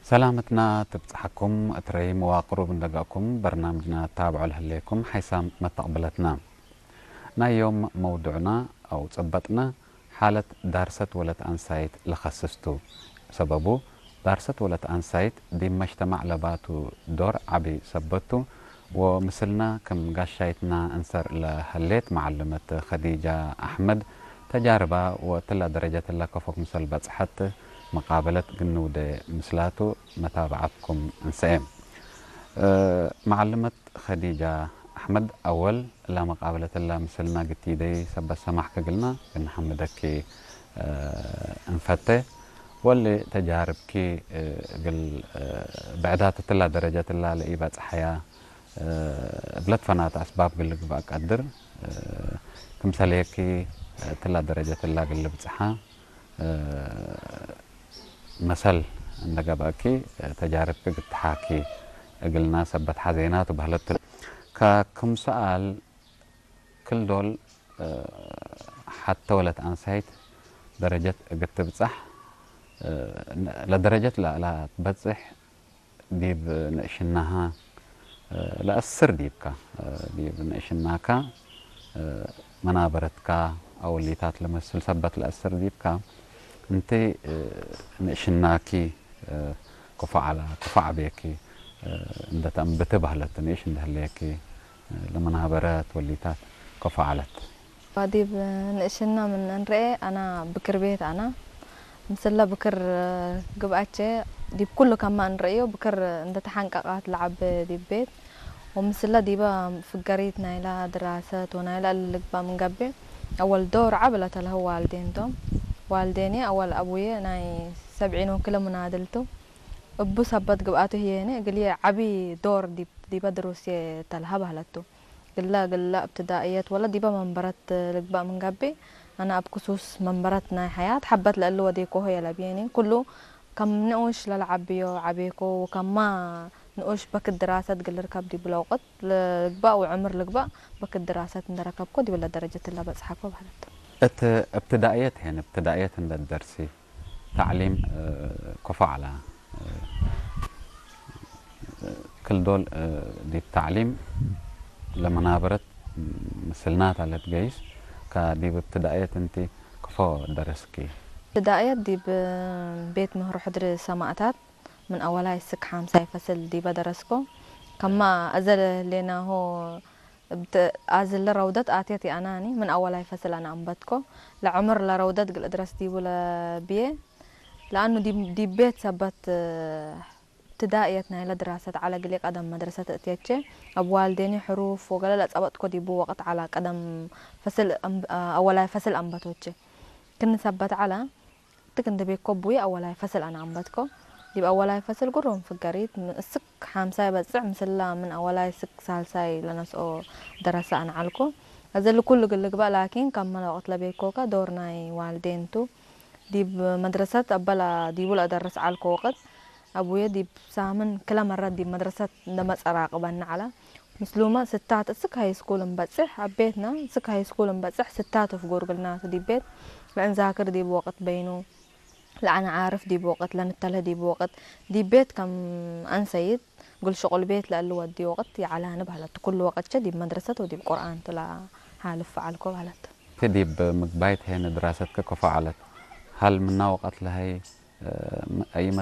ሰላምትና ትብጽሓኩም እትረይ መዋቅሩ ብንደጋኩም በርናምጅና ታብዖ ለህሌኩም ሓይሳም መተቕብለትና። ናዮም መውዱዕና ኣው ጸበጥና ሓለት ዳርሰት ወለት ኣንሳይት ለኸስስቱ። ሰበቡ ዳርሰት ወለት ኣንሳይት ዲብ መጅተማዕ ለባቱ ዶር ዓቢ ሰበቱ ወምስልና ክም ጋሻይትና እንሰር ለሀሌት መዓልመት ኸዲጃ ኣሕመድ ተጃርባ ወእትላ ደረጀት እላ ከፎ ክምሰል በጽሐት መቃበለት ግንውደ ምስላቱ መታብዓትኩም እንሰኤ። መዓልመት ኸዲጃ ኣሕመድ ኣወል እላ መቃበለት እላ ምስልና ግቲደይ ሰበት ሰማሕ ክግልና ግንሐምደኪ እንፈተ። ወሊ ተጃርብኪ እግል ብዕዳት እትላ ደረጀት እላ ለኢበጽሐያ እብለት ፈናት ኣስባብ ግል ግባእ ቀድር ክምሰልየኪ እትላ ደረጀት እላ ግል ብጽሓ መሰል እንደገባእኪ ተጃርብኪ ግትሓኪ እግልና ሰበት ሓዜናቱ ባህለቱ። ከክም ሰኣል ክል ዶል ሓተ ወለት ኣንሳይት ደረጀት እግትብጻሕ ለደረጀት ላእላ ትበጽሕ ዲብ ንእሽናሃ ለአስር ዲብካ ዲብ ንእሽናካ መናበረትካ ኣወሊታት ለመስል ሰበት ለአስር ዲብካ እንቲ ንእሽናኪ ክፉዓላ ክፉዓ ቤኪ እንደተእምብቲ ባህለት ንእሽ እንደህለየኪ ለመናበረት ወሊታት ከፉዓለት። ዲብ ንእሽና ምን እንርኤ ኣና ብክር ቤት ኣና ምስላ ብክር ግብኣቸ ዲብ ኩሉ ከማ እንርእዮ ብክር እንደተሓንቀቃት ለዓበ ዲብ ቤት ወምስላ ዲባ ፍገሪት ናይላ ድራሰት ወናይላ እሊ ልግባ ምን ገብእ ኣወል ዶር ዓብ ለተልሀው ዋልዴን ቶም። ዋልዴኔ ኣወል ኣቡየ ናይ ሰብዒኖ ክለ ምናድልቱ እቡ ሰበት ግብኣቱ ህየኔ እግልየ ዓቢ ዶር ዲብ ዲበ ድሩስየ ተልሀ በህለቱ። ግላ ግላ እብትዳእየት ወለ ዲበ መንበረት ልግባእ ምን ገብእ፣ ኣነ እብ ክሱስ መንበረት ናይ ሐያት ሐበት ለእሊ ወዴኮሆ የለብየኒ። ኩሉ ከም ንኡሽ ለለዓብዮ ዓቤኮ ወከማ ንኡሽ በክት ድራሰት ግልርከብ ዲብለ ወቅት ልግባእ ወዕምር ልግባእ በክት ድራሰት እንደረከብኮ ዲብለ ደረጀት ለበጽሐኮ በህለቱ። እት እብትዳእየት ሄን እብትዳእየት እንደ ደርሲ ታዕሊም ኮፎ ዐላ ክል ዶል ዲብ ታዕሊም ለመናበረት ምስልናት ኣለት ገይስ ከዲብ እብትዳእየት እንቲ ክፎ ደረስኪ? እብትዳእየት ዲብ ቤት ምህሮ ሕድሪ ሰማእታት ምን ኣወላይ ስክ ሓምሳይ ፈስል ዲበ ደረስኮ። ከማ እዘ ሌናሆ እብት ኣዝለ ረውደት ኣትየት የኣናኒ ምን ኣወላይ ፈስል ኣነ ኣንበትኮ። ለዕምር ለረውደት ግል እድረስ ዲቡ ለብዬ ለኣኑ ዲብ ቤት ሰበት እብትዳእየት ናይለ ድራሰት ዐለ ግሌ ቀደም መድረሰት እትየቼ። እብ ዋልዴኒ ሕሩፍ ወገለ ለጸበጥኮ ዲቡ ወቅት ዐላ ቀደም ፈስል ኣወላይ ፈስል ኣንበቶቼ። ክኒ ሰበት ዐላ ትክ እንደ ቤኮ ቡይ ኣወላይ ፈስል ኣነ ኣንበትኮ። ዲብ ኣወላይ ፈስል ጉሮም ፍገሪት እስክ ሓምሳይ በጽዕ ምስላ ምን ኣወላይ ስክ ሳልሳይ ለነስኦ ደረሰ ኣነ ዐልኮ። እዘ ልኩሉ ግልግባእ ላኪን ከም መለ ወቅት ለቤኮከ ዶር ናይ ዋልዴንቱ ዲብ መድረሰት ኣበላ ዲቡ ለእደርስ ዐልኮ ወቅት ኣቡየ ዲብ ሳምን ክለ መረት ዲብ መድረሰት እንደመጸ ራቅበኒ ዐለ። ምስሉመ ስታት እስክ ሃይስኩል እንበጽሕ ኣብ ቤትና እስክ ሃይስኩል እንበጽሕ ስታት ፍጉር ግልናቱ ዲብ ቤት ለእንዛክር ዲብ ወቅት በይኑ ለአነ ዓርፍ ዲብ ወቅት ለንተልህ ዲብ ወቅት ዲብ ቤት ከም አንሰይት ግል ሽቁል ቤት ለእሊ ወዲ ወቅት የዐላኒ በህለት። ኩሉ ወቅትቸ ዲብ መድረሰት ወዲብ ቁርኣን ቱ ለሓልፍ ዐልኮ በህለት። እት ዲብ ምግባይት ሄነ ድራሰትከ ከፎ ዐለት? ሀል ምና ወቀት ለሀይ አይመ